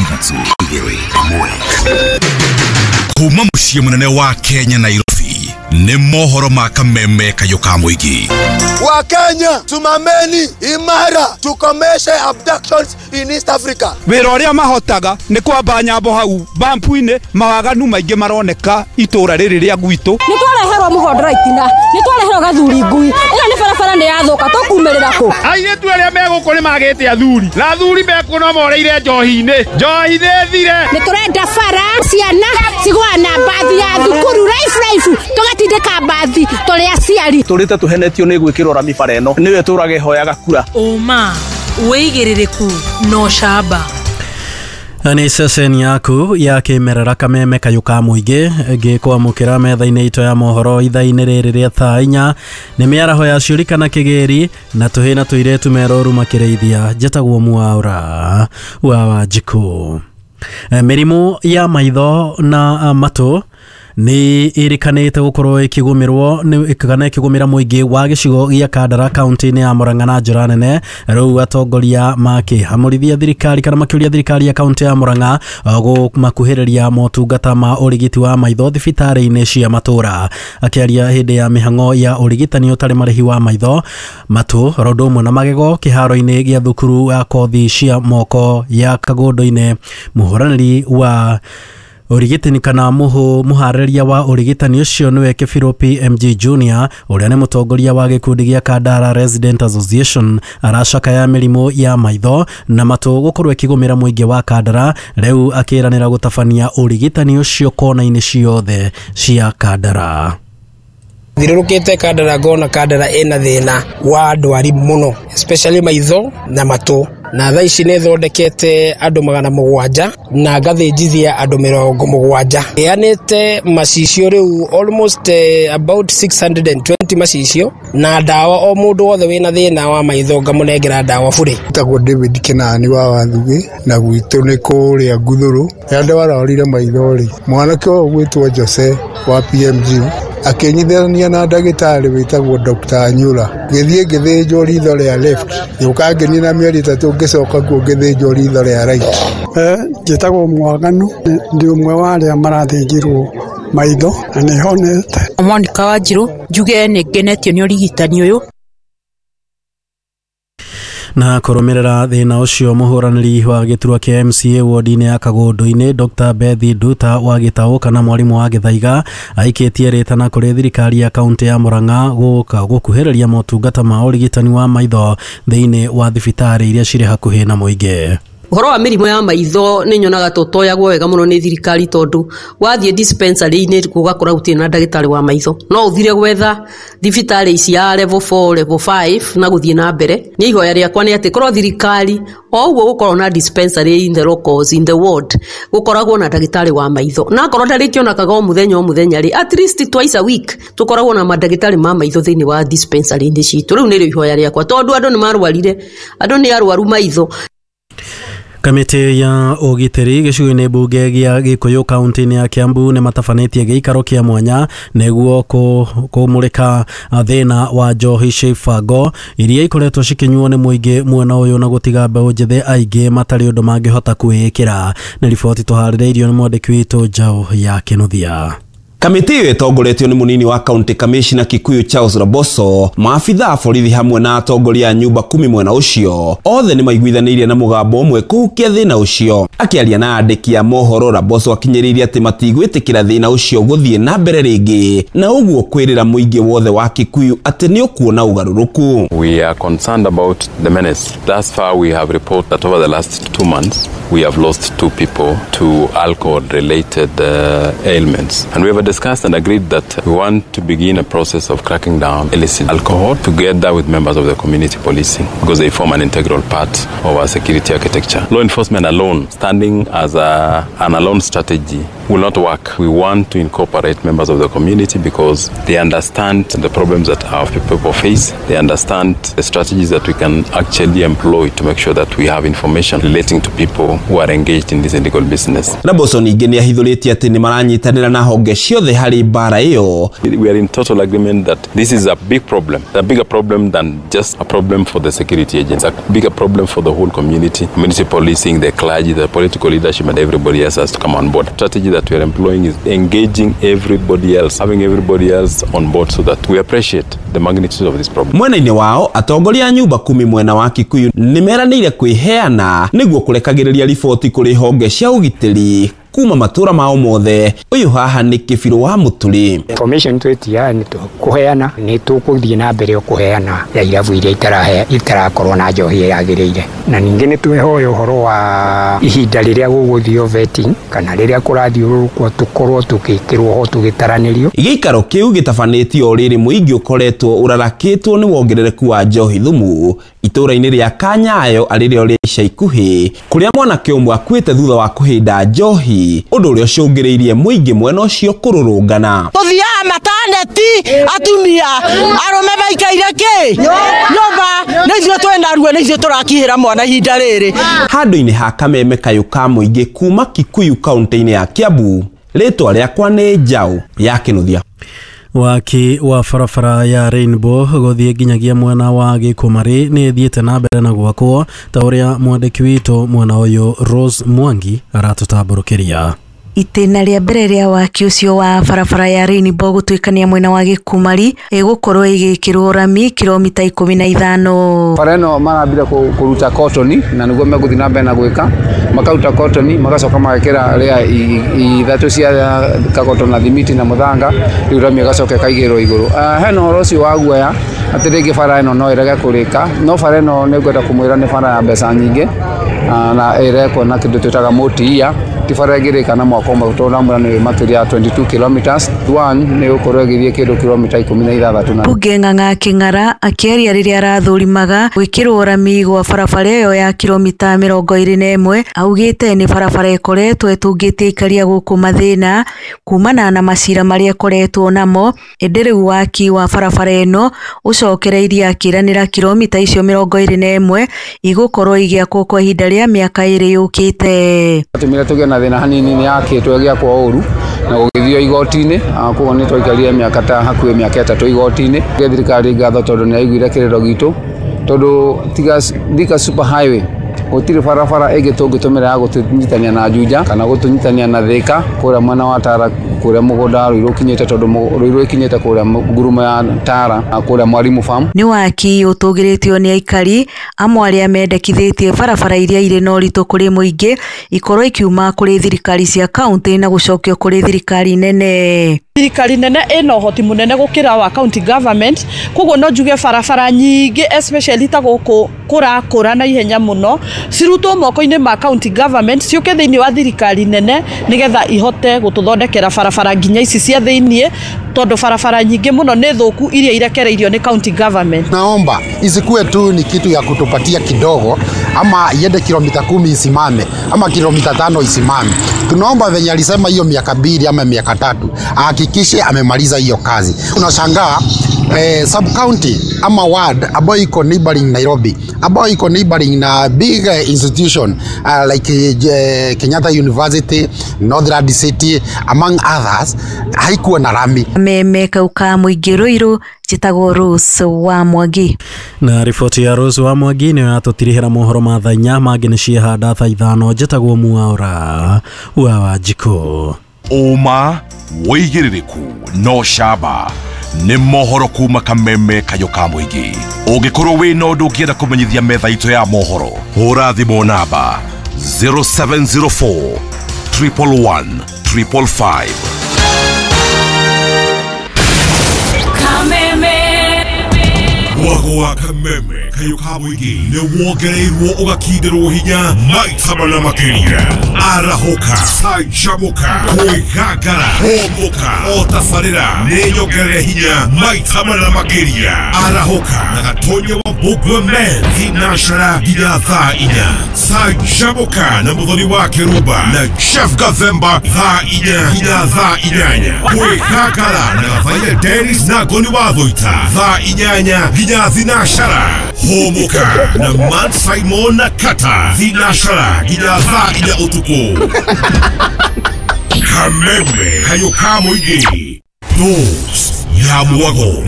Ithatũ, igĩrĩ, ĩmwe. Kuma mũciĩ mũnene wa Kenya, Nairobi, nĩ mohoro ma kameme kayũ ka mũingĩ. Wakenya, simameni imara, tukomeshe abductions in East Africa. Wĩra ũrĩa mahotaga nĩ kwamba nyambo hau bampu-inĩ. Mawaganu maingĩ maroneka itũra rĩrĩ rĩa gwitũ. Nĩ twareherwo mũhondora itina, nĩ twareherwo gathuri ngui. Ĩno nĩ barabara nĩ yathũka, tũkumĩrĩra kũ? Airĩtu arĩa me gũkũ nĩ magĩte athuri, na athuri mekuo no moreire njohi-inĩ. Njohi nĩ thire. Nĩ tũrenda bara, ciana cigũa na mbathi ya thukuru raifu raifu, tũgatindĩka mbathi tũrĩ aciari. Tũrĩte tũhenetio nĩ gwĩkĩrwo rami bara ĩno nĩyo ĩtũraga ĩhoyaga kura. Ũma, wĩigĩrĩrĩku na ũcamba. Nĩ ceceni yaku ya kĩmerera, Kameme kayũ ka mũingĩ, ngĩkwamũkĩra metha-inĩ itũ ya mohoro ithaa-inĩ rĩrĩ rĩa thaa 4. Nĩ mĩaraho ya ciũri kana kĩgĩri na tũhĩ na tũirĩtu meroru makĩrĩithia. Njĩtagwo Mwaũra wa Wanjikũ. Mĩrimũ ya maitho na matũ nĩ ĩrĩkanĩte gũkorwo ĩkĩgũmĩrwo kana ĩkĩgũmĩra mũingĩ wa gĩcigo gĩa Kandara kaunti-inĩ ya Murang'a na njĩra nene. Rĩu atongoria makĩhamũrithia thirikari kana makĩũria thirikari ya kaunti ya Murang'a kũmakuhĩrĩria motungata ma ũrigiti wa maitho thibitarĩ-inĩ cia matũra. Akĩaria hĩndĩ ya mĩhang'o ya ũrigitani ũtarĩ marĩhi wa maitho, matũ oro ũndũ ũmwe na magego kĩharo-inĩ gĩa thukuru ya kothi cia moko ya Kagũndũ-inĩ, mũhũranĩri wa ũrigitani kana mũharĩria wa ũrigitani ũcio nĩwe Kĩbirũ PMG Junior, ũrĩa nĩ mũtongoria wa gĩkundi gĩa Kandara Resident Association, aracakaya mĩrimũ ya maitho na matũ gũkorwo ĩkĩgũmĩra mũingĩ wa Kandara. Rĩu akĩranĩra gũtabania ũrigitani ũcio kona-inĩ ciothe cia Kandara. Thiũrũrũkĩte Kandara ngona Kandara ĩna thĩna wa ndwari mũno, especially maitho na matũ, na thaa ici nĩ thondekete andũ 700 na ngathĩnjithia andũ 70. Heanĩte macicio rĩu almost about 620 macicio na ndawa, o mũndũ wothe wĩna thĩna wa maitho ngamũnengera ndawa bure. Njĩtagwo David Kenani wa Wathugĩ, na gwitũ nĩ kũrĩa Nguthũrũ. Rĩrĩa ndwarorire maitho rĩ, mwanake ũyũ ũgwĩtwo Jose wa PMG akĩnyitithania na ndagĩtarĩ wĩtagwo Dr. Anyura. Ngĩthiĩ ngĩthĩnjwo ritho rĩa left, ngĩũka ngĩnina mĩeri 3, ngĩcoka kuo ngĩthĩnjwo ritho rĩa right. Njĩtagwo Mwaganu, ndĩ ũmwe wa arĩa marathĩnjirwo maitho na nĩ honete. Monica Wanjiru, njuge nĩ ngenetio nĩ ũrigitani ũyũ. Na kũrũmĩrĩra thĩna ũcio, mũhũranĩri wa gĩturwa kĩa MCA wodi-inĩ ya Kagũndũ-inĩ, Dr. Bethi Nduta wa Gĩtaũ kana mwarimũ wa Gĩthaiga, aikĩtie rĩtana kũrĩ thirikari ya kaunti ya Murang'a gũka gũkuhĩrĩria motungata ma ũrigitani wa maitho thĩinĩ wa thibitarĩ iria cirĩ hakuhĩ na mũingĩ. Ũhoro wa mĩrimũ ya maitho nĩ nyonaga tũtoyagwo wega mũno nĩ thirikari, tondũ wathiĩ dispensary-inĩ ũgakora gũtirĩ na ndagĩtarĩ wa maitho. No ũthire gwetha thibitarĩ ici ya level 4, level 5 na gũthiĩ na mbere. Niĩ ihoya rĩakwa nĩ atĩ korwo thirikari o ũguo gũkorwo na dispensary in the locals, in the ward, gũkoragwo na ndagĩtarĩ wa maitho, na akorwo ndarĩkĩonekaga o mũthenya o mũthenya rĩ, at least twice a week tũkoragwo na mandagĩtarĩ ma maitho thĩinĩ wa dispensary-inĩ citũ. Rĩu nĩrĩo ihoya rĩakwa, tondũ andũ nĩ marwarire, andũ nĩ arwaru maitho. Kamĩtĩ ya ũgitĩri gĩcigo-inĩ mbunge gĩa Gĩkũyũ kaunti-inĩ ya Kiambu nĩ matabanĩtie gĩikaro kĩa mwanya nĩguo kũmũrĩka thĩna wa njohi cia iria ikoretwo cikĩnyuo nĩ mũingĩ mwena ũyũ na gũtiga mbeũ njĩthĩ aingĩ matarĩ ũndũ mangĩhota kwĩĩkĩra. Nĩ riboti tũharĩrĩirio nĩ mwandĩki witũ Njaũ ya Kĩnuthia. Kamĩtĩ ĩyo ĩtongoretio nĩ mũnini wa county commissioner Kikuyu Charles Raboso, maabitha a borithi hamwe na atongoria a nyumba kumi mwena ũcio othe nĩ maiguithanĩirie na mũgambo ũmwe kũhukia thĩna ũcio. Akĩaria na andĩki a mohoro, Raboso akinyĩrĩirie atĩ matigwĩtĩkĩra thĩna ũcio gũthiĩ na mbere rĩngĩ, na ũguo kwĩrĩra mũingĩ wothe wa Kikuyu atĩ nĩ ũkuona ũgarũrũku. We are concerned about the menace. Thus far we have reported that over the last 2 months we have lost two people to alcohol-related ailments. And we have discussed and agreed that we want to begin a process of cracking down illicit alcohol together with members of the community policing, because they form an integral part of our security architecture. Law enforcement alone, standing as an alone strategy, will not work. We want to incorporate members of the community because they understand the problems that our people face. They understand the strategies that we can actually employ to make sure that we have information relating to people who are engaged in this illegal business. Laboso ningĩ nĩ ahithũrĩtie atĩ nĩ maranyitanĩra na honge ciothe harĩ mbara ĩyo. We are in total agreement that this is a big problem, a bigger problem than just a problem for the security agents, a bigger problem for the whole community, community policing, the clergy, the political leadership, and everybody else has to come on board. The strategy that we are employing is engaging everybody else, having everybody else on board so that we appreciate the magnitude of this problem. Mwena-inĩ wao atongoria a nyũmba kumi mwena wa Kikuyu nĩ meranĩire kwĩheana nĩguo kũrekagĩrĩria riboti kũrĩ honge cia ũgitĩri kuma matura mao mothe. Ũyũ haha nĩ Kĩbirũ wa Mũturi. Information twetia nĩ tũkũheana, nĩ tũkũthiĩ na mbere kũheana ya irabu iria itarakorwo na njohi yagĩrĩire, na ningĩ nĩ twehoya ũhoro wa ihinda rĩrĩa gũgũthio vetting kana rĩrĩa kũrathiũrũrũkwo tũkorwo tũgĩkĩrwo ho tũgĩtaranĩrio. Gĩikaro kĩu gĩtabanĩtio o rĩrĩ mũingĩ ũkoretwo ũrarakĩtwo nĩ wongerereku wa njohi thumu itũra-inĩ rĩa Kanyayo arĩrĩo rĩa ica ikuhĩ kũrĩa mwanake ũmwe akuĩte thutha wa kũhĩnda njohi, ũndũ ũrĩa ũcũngĩrĩirie mũingĩ mwena ũcio kũrũrũngana. Tũthiaga mataneti atumia arũme maikaire kĩ nyũmba nĩ ithuĩ twĩna ruo, nĩ ithuĩ tũrakihĩra mwana ihinda rĩrĩ. Handũ-inĩ ha kameme kayũ ka mũingĩ kuma Kikuyu kaunti-inĩ ya Kiambu, rĩtwa rĩakwa nĩ Njaũ ya Kĩnuthia. Waki wa barabara ya Rainbow gũthiĩ nginyagia mwena wa Gĩkũmarĩ nĩ ĩthiĩte na mbere na gwakwo ta ũrĩa mwandĩki witũ mwena ũyũ Rose Mwangi aratũtambũrũkĩria. Itĩna rĩa mbere rĩa waki ũcio wa barabara ya Rainbow gũtuĩkania mwena wa Gĩkumari ĩgũkorwo ĩgĩkĩrwo rami kilomita 15. Bara ĩno marambire kũruta kotoni na nĩguo megũthiĩ na mbere na gwĩka, makaruta kotoni magacoka magekĩra rĩa ithatũ cia kagoto na thimiti na mũthanga, rĩu rami ĩgacoka ĩkaigĩrwo igũrũ. Hena ũhoro ũcio wa guoya atĩ rĩngĩ bara ĩno no ĩrege kũrĩka, no bara ĩno nĩ ngwenda kũmwĩra nĩ bara ya mbeca nyingĩ na ĩrekwo na kĩndũ twĩtaga multi-year, ti bara ĩngĩrĩka na mwaka ũmwe tondũ ndamwĩra nĩ makĩria ya 22 kilometers. One nĩ gũkorwo ĩgĩthiĩ kĩndũ kilomita 16. Mbunge Ng'ang'a Kĩng'ara akĩaria rĩrĩa arathũrimaga gwĩkĩrwo rami gwa barabara ĩyo ya kilomita 21 augĩte nĩ barabara ĩkoretwo ĩtũngĩtie aikaria gũkũ mathĩna kumana na macira marĩa ĩkoretwo namo, ĩndĩ rĩu waki wa barabara ĩno ũcokereirie akĩranĩra kilomita icio 21 igũkorwo igĩakwo kwa ihinda rĩa mĩaka 2 yũkĩte. Tũmire tũgĩe na thĩna hanini nĩ yakĩtwo ĩgĩakwo ũru na gũgĩthio igoti-inĩ, koguo nĩ twaikarire mĩaka ta hakuhĩ mĩaka 3 igoti-inĩ. Thirikari ngatho tondũ nĩ yaiguire kĩrĩro gitũ, tondũ tiga Thika Super Highway gũtirĩ barabara ĩngĩ tũngĩtũmĩra ya gũtũnyitania na Juja kana gũtũnyitania na Thika kũrĩa mwena wa Tara kũrĩa mũgũnda wa Ruiru ũkinyĩte, tondũ Ruiru ĩkinyĩte kũrĩa ngurumo ya Tara kũrĩa Mwalimu Farm. Nĩ waki ũtũgĩrĩtio nĩ aikari amwe arĩa mendekithĩtie barabara iria irĩ na ũritũ kũrĩ mũingĩ ikorwo ikiuma kũrĩ thirikari cia kaunti na gũcokio kũrĩ thirikari nene. Thirikari nene ĩna ũhoti mũnene gũkĩra wa county government, koguo no njuge barabara nyingĩ especially ta gũkũ kũrakũra na ihenya mũno cirutwo moko-inĩ ma county government ciũke thĩinĩ wa thirikari nene nĩgetha ihote gũtũthondekera barabara nginya ici cia thĩinĩ, tondũ barabara nyingĩ mũno nĩ thũku iria irekereirio nĩ county government. Naomba isikuwe tu ni kitu ya kutupatia kidogo ama iende kilomita 10 isimame ama kilomita 5 isimame. Tunaomba venye alisema hiyo miaka 2 ama miaka 3 ahakikishe amemaliza hiyo kazi. Tunashangaa sub county ama ward ambayo iko neighboring Nairobi, ambayo iko neighboring na big institution like Kenyatta University, Northland City among others, haikuwa na rami. Meme kauka mũingĩ Ruiru, njĩtagwo Rose wa Mwangi. Na riboti ya Rose wa Mwangi nĩyo yatũtirihĩra mohoro ma thaa 4 mangĩ nĩ ciehanda thaa 5. Njĩtagwo Mwaura wa Wanjikũ. Ũma wĩigĩrĩrĩku no camba nĩ mohoro kuma kameme kayũ ka mũingĩ. Ũngĩkorwo wĩna ũndũ ũngĩenda kũmenyithia metha itũ ya mohoro, hũra thimũ namba 0704 111 555. Mwago wa kameme kayũ ka mũingĩ nĩ wongereirwo ũgakindĩrwo hinya maita mana makĩria. Arahũka, canjamũka, kwĩgangara, hũmũka, o tabarĩra nĩ nyongerere hinya maita mana makĩria. Arahũka na Gatonya wa Mbũgua Men thinashara nginya thaa 4. Canjamũka na Mũthoni wa Kĩrumba na Jeff Gathemba thaa 4 nginya thaa 8. Kwĩgangara na Gathaia Dennis na Ngoni wa Thũita thaa 8 nginya thinashara. Hũmũka na Man Simon na Kata thinacara nginya thaa 4 ũtukũ. Kameme kayũ ka mũingĩ. Dose ya mwago.